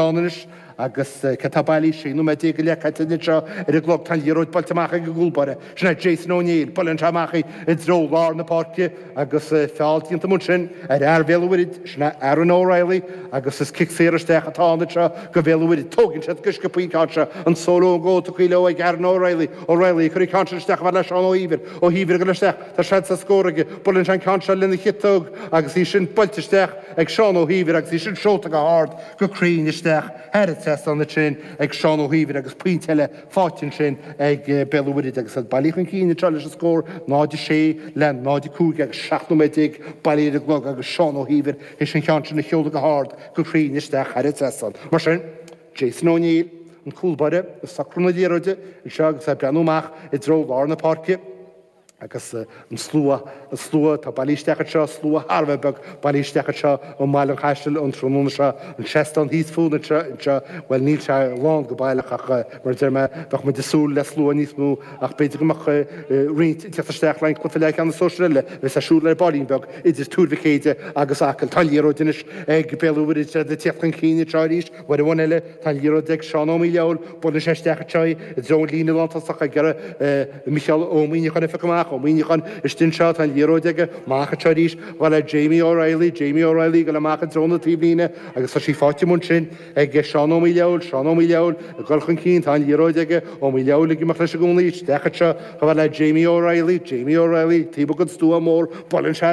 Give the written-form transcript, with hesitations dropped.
ann anois agus cé atá bailí? 16 nóiméad go leith caite anseo ar an gclog. Tá an liathróid buailte amach ag an gcúlbáire. Sin é Jason O'Neill. Buaileann sé amach í i dtreo lár na páirce agus feall déanta amuigh ansin ar fhear Bhéal an Mhuirthead. Sin é Aaron O'Reilly agus is cic saor isteach atá ann anseo do Bhéal an Mhuirthead. Tógann siad go sciobtha an ceann seo. An solo and go tugtha leo ag Aaron O'Reilly. O'Reilly ag cur an ceann sin isteach chomh fada le Seán Ó hÍomhair. Ó hÍomhair ag dul isteach. Tá seans ar scór aige. Buaileann sé an ceann seo lena chiotóg agus í sin buailte isteach ag Seán Ó hÍomhair agus í sin seolta go hard, go cruinn isteach thar an trasnán ansin ag Seán Ó hÍomhair agus pointe eile faighte ansin ag Béal an Mhuirthead agus iad bailithe chun cinn anseo leis an scór 0-6 le 0-5 agus 17 nóiméad bailithe ar an gclog agus Seán Ó hÍomhair théis an ceann sin a sheoladh go hard, go cruinn isteach thar an trasnán. Mar sin, Jason O'Neill, an cúlbáire, ag socrú na liathróide anseo agus é ag breathnú amach i dtreo lár na páirce. Agus an slua, an slua atá bailithe isteach anseo, slua thar a bheith beag bailithe isteach anseo i mBaile an Chaisil an tráthnóna seo, an seastán thíos fúinn anseo, anseo, bhuel níl sé lán go baileach ach mar a deir mé, bheadh muid ag súil le slua níos mó ach b'fhéidir go mbeadh roinnt ag teacht isteach le an cluiche leathcheannais sóisir eile a bheas ar siúl ar baillín beag idir Tuar Mhic Éide agus Acaill. Tá an liathróid anois ag Béal an Mhuirthead, iad ag teacht chun cinn anseo arís, uair amháin eile, Tá an liathróid ag Seán Ó Maoileoin, buaileann sé isteach anseo í i dtreo an líne lántosach ag iarraidh Micheál Ó Muíneacháin a phiocadh amach, Ó Muíneacháin istigh anseo, tá an liathróid aige, amach anseo arís, chomh fada le Jamie O'Reilly, Jamie O'Reilly ag dul amach i dtreo na taobhlíne agus tá sí faighte amuigh ansin ag Seán Ó Maoileoin, Seán Ó Maoileoin ag dul chun cinn, tá an liathróid aige, Ó Maoileoin ag imeacht leis i gcónaí, isteach anseo chomh fada le Jamie O'Reilly, Jamie O'Reilly, taobh amuigh den stua mór, buaileann sé.